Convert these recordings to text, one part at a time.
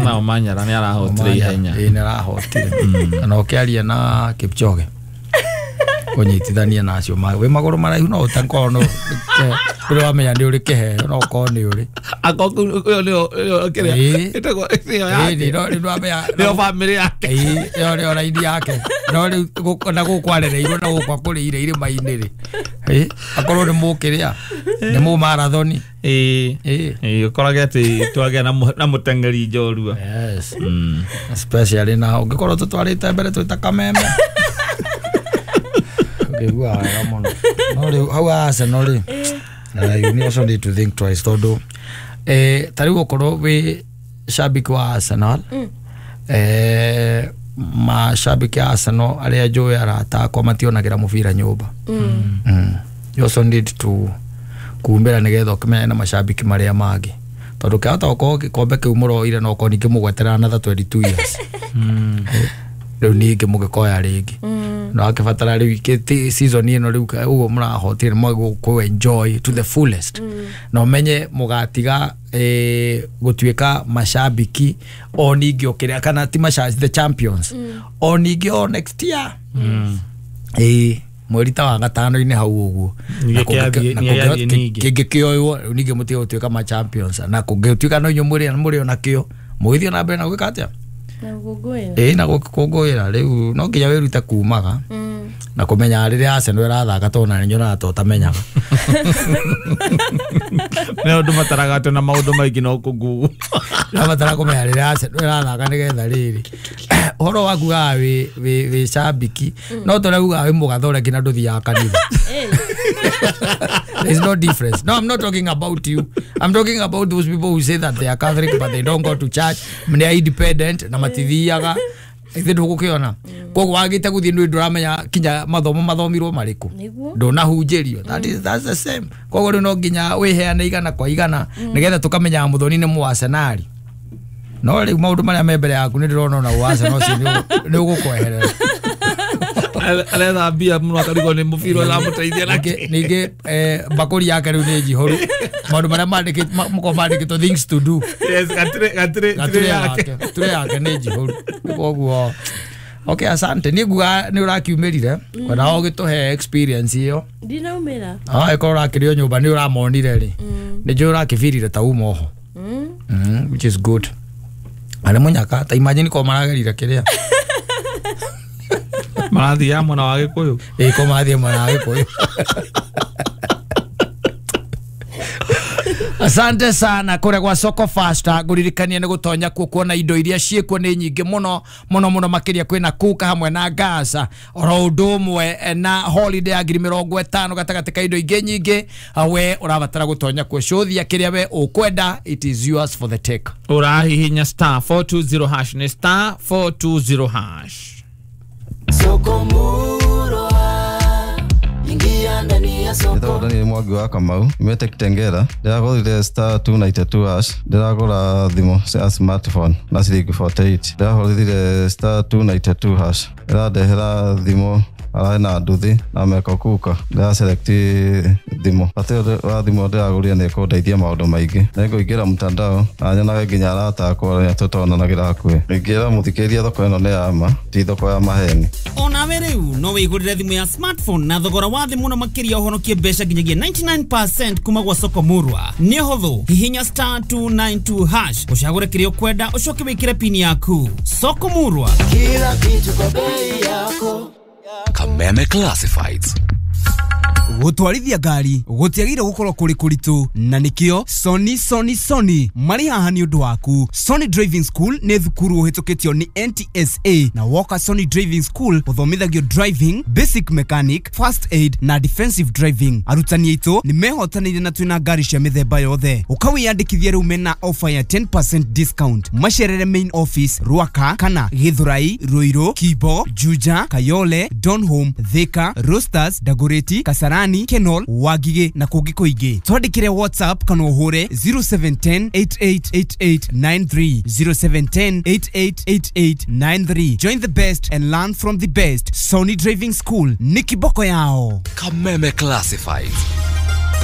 Na Omanyala nĩ arahotire ihenya. Ĩĩ nĩ arahotire. Kana ũkĩaria na Kipchoge kũnyitithania na acio wĩ magũrũ maraihu no ũtakorwo no ndũrĩ wamenya nĩ ũrĩ kĩheo no ũkorwo nĩ ũrĩ. Akorwo nĩyo kĩrĩa ĩtagwo nĩyo yake. Nĩyo bamĩrĩ yake. Ĩĩ ĩyo nĩyo raini yake. No rĩu na gũkũ arereirwo na gũkũ akũrĩire irĩma-inĩ rĩ. Ĩĩ akorwo nĩ mũkĩrĩa nĩ mũ marathoni. Ĩĩ ĩĩ ũkorage atĩ twagĩa na mũteng'eri njorua. Yes. Especially na ũngĩkorwo tũtwarĩte mbere twĩta kameme. Ũngĩigua wega mũno. No rĩu hau Arsenal rĩ, you also need to think twice tondũ ta rĩu ũkorwo wĩ shabiki wa Arsenal, mashabiki a Arsenal arĩa njũĩ arata akwa mationagĩra mũbira nyũmba. You also need to kumbĩra nĩgetha ũkĩmenyane na mashabiki marĩa mangĩ tondũ kĩahota gũkorwo gĩkombe kĩu mũroire no ũkorwo ningĩ mũgweterera another 22 years. Rĩu ningĩ mũgĩkoya rĩngĩ no akĩbatara rĩu season ĩno rĩu ũguo mũrahotire nĩ enjoy to the fullest. Na ũmenye mũgatiga gũtuĩka mashabiki o ningĩ ũkĩrĩa kana ti mashabiki the champions o ningĩ o next year. Mweri ta wa gatano-inĩ hau ũguo kĩngĩkĩoywo rĩu ningĩ mũtige gũtuĩka ma champions na kũngĩtuĩka no inyuĩ mũrĩ ona kĩo mũgĩthiĩ na mbere na gwĩka atĩa? Na gũkũngũĩra. Ĩĩ na gũkũngũĩra rĩu no nginya wĩrute kumaga na kũmenya rĩrĩa Arsenal ĩrathaka tondũ na nĩnyonaga ta ũtamenyaga. Nĩ ũndũ mataraga atĩ na maũndũ maingĩ no kũngu. Nabatara kũmenya rĩrĩa Arsenal ĩrathaka nĩgetha rĩrĩ ũhoro waku gaga wĩ shabiki no tũrauga wĩ mũgathore nginya ndũthiaga kanitha. There's no difference. No, I'm not talking about you. I'm talking about those people who say that they are Catholic but they don't go to church. They are independent na matithiaga. Ithe ndũgũkĩona. Koguo wagĩte gũthiĩ nĩ ndũramenya kinya mathomo mathomirwo marĩkũ. Ndũnahunjĩrio. That's the same. Koguo rĩu no nginya wĩheane igana kwa igana nĩgetha tũkamenya Muthoni nĩ mũ-Arsenal. No rĩu maũndũ marĩa me mbere yaku nĩ ndĩrona ona ũ-Arsenal ũcio nĩ ũgũkweherera. Aretha mbia mũno akarigwo nĩ mũbira ũramũteithia nake. Ningĩ mbakũri yake rĩu nĩ njihũru. Maũndũ marĩa mũkorwo mandĩkĩtwo things to do. Yes, gatire yake. Gatire yake nĩ njihũru. Koguo okay, asante. Niĩ nguga nĩ ũrakiumĩrire ona ũgĩtũhe experience ĩyo. Ndinaumĩra. Ĩkorwo ũrakĩrĩ o nyũmba nĩ ũramonire rĩ. Nĩ njũĩ ũrakĩbirire ta uma oho. Which is good. Arĩ mũnyaka ta imagine ko maragerire kĩrĩa. Marathiaga mwena wa Gĩkũyũ. Ĩĩ ko marathiĩ mwena wa Gĩkũyũ. Asante sana kũrĩa gwa Soko Fasta ngũririkania nĩ gũtonya kuo kuona indo iria ciĩkuo nĩ nyingĩ mũno mũno mũno makĩria kwĩna kuka hamwe na gas oro ũndũ ũmwe na holiday ya 50,000 gatagatĩ ka indo ingĩ nyingĩ we ũrabatara gũtonya kuo cũthia kĩrĩa we ũkwenda, it is yours for the take. Ũrahihinya star 420 hash nĩ star 420 hash. Soko Murwa, ingia ndani ya soko. Ndĩragũra Daniel Mwangi wa Kamau, nyumĩte Kitengela. Ndĩragũrire star 292 hash, ndĩragũra thimũ cia smartphone na ciringi 48. Ndĩrahũrire star 292 hash, ĩrandehera thimũ ararĩ na nduthi na meko kuka. Ndĩra select thimũ. Bata ũyũ wa thimũ ndĩragũrire nĩ ĩkũndeithia maũndũ maingĩ. Nĩngũingĩra mtandao na nyonage nginya arata akwa arĩa tũtonanagĩra hakuhĩ. Ingĩra mũthikĩrĩria thoko ĩno nĩ ya ma, ti thoko ya maheni. Onawe rĩu no wĩgũrĩre thimũ ya smartphone na thogora wa thĩ mũno makĩria ũhonokie mbeca nginyagia 99% kuma gwa Soko Murwa. Nĩ hũthũ, hihinya star 292 hash ũcagũre kĩrĩa ũkwenda ũcoke wĩkĩre pini yaku. Soko Murwa, kila kitu kwa bei yako. Kameme Classifieds. Gũtwarithia ngari gũtiagĩrĩire gũkorwo kũrĩ kũritũ na nĩkĩo Sony Sony Sony marĩ haha nĩ ũndũ waku. Sony Driving School nĩ thukuru ũhĩtũkĩtio nĩ NTSA na woka Sony Driving School ũthomithagio driving, basic mechanic, first aid na defensive driving. Arutani aitũ nĩ mehotanĩire na twĩna ngari cia mĩthemba yothe. Ũkawĩyandĩkithia rĩu mena offer ya 10% discount. Macerere main office Ruaka kana Githurai, Ruiru, Kibo, Juja, Kayole, Donholm, Thika, Roasters, Dagoretti, Kasarani, Kenol, Wagige na kũngĩ kũingĩ. Twandĩkĩre WhatsApp kana ũhũre 0710 888893 0710 888893. Join the best and learn from the best. Sony Driving School ni kiboko yao. Kameme Classifieds.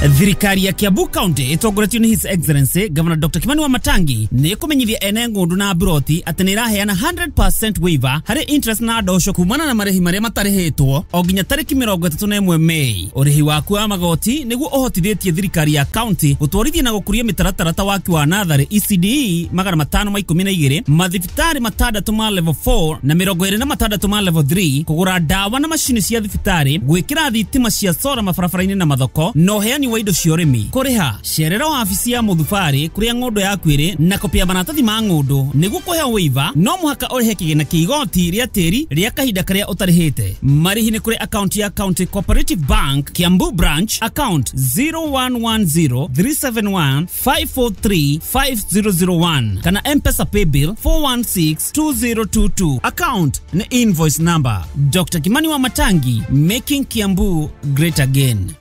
Thirikari ya Kiambu County ĩtongoretio nĩ His Excellency Governor Dr. Kimani Wamatangi nĩ ĩkũmenyithia ene ng'ũndũ na mburoti atĩ nĩ ĩraheana 100% waiver harĩ interest na ndosho kumana na marĩhi marĩa matarĩhĩtwo o nginya tarĩki 31 Mei. Ũrĩhi waku wa magoti nĩguo ũhotithĩtie thirikari ya county gũtwarithia na gũkũria mĩtaratara ta waki wa natharĩ ECDE 512, mathibitarĩ 6 ma level 4 na 26 ma level 3, kũgũra ndawa na macini cia thibitarĩ, gwĩkĩra thitima cia sora mabarabara-inĩ na mathoko, na ũheani wa indo cia ũrĩmi. Kũrĩha cerera wabici ya mũthubarĩ kũrĩa ng'ũndũ yaku ĩrĩ na kopi ya maratathi ma ng'ũndũ. Nĩguo kũheo waiver no mũhaka ũrĩhe kĩgĩna kĩa igoti rĩa tĩri rĩa kahinda karĩa ũtarĩhĩte. Marĩhi nĩ kũrĩ akaunti ya County Cooperative Bank Kiambu Branch, account 0110 371 543 5001 kana M-Pesa paybill 4162022. Account ni invoice number. Dr. Kimani Wamatangi, making Kiambu great again.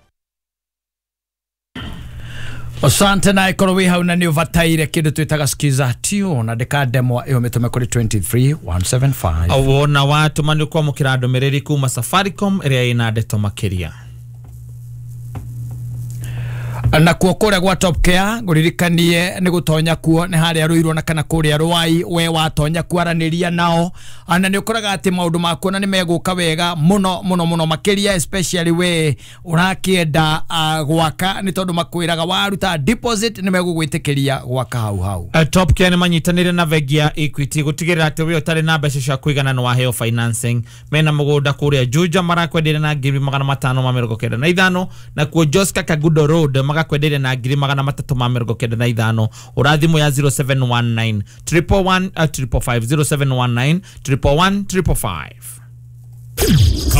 Asante na ikorwo wi hau na nä å bataire kä ndå twä taga skiza tune na ndäkandemwa ä yo mä tå me kå rä 23175. Wona watũma nĩ ũkwamũkĩra ndũmĩrĩri kuma Safaricom ĩrĩa ĩna ndeto makĩria. Na kuo kũrĩa gwa Top Care ngũririkanie nĩ gũtonya kuo nĩ harĩa Ruiru na kana kũrĩa Rwai, we watonya kwaranĩria nao na nĩ ũkoraga atĩ maũndũ makuo na nĩ megũka wega mũno mũno mũno makĩria, especially we ũrakĩenda gwaka, nĩ tondũ makwĩraga waruta deposit nĩ megũgwĩtĩkĩria gwaka hau hau. Top Care nĩ manyitanĩire na bengi ya Equity gũtigĩrĩra atĩ we ũtarĩ na mbeca cia kũigana nĩ waheo financing. Mena mũgũnda kũrĩa Juja marakwenderia na 595,000, na kuo Joska Kagudo Road magakwenderia na 395,000. Ũrathimũ ya 0719 111 555, 0719 111 555.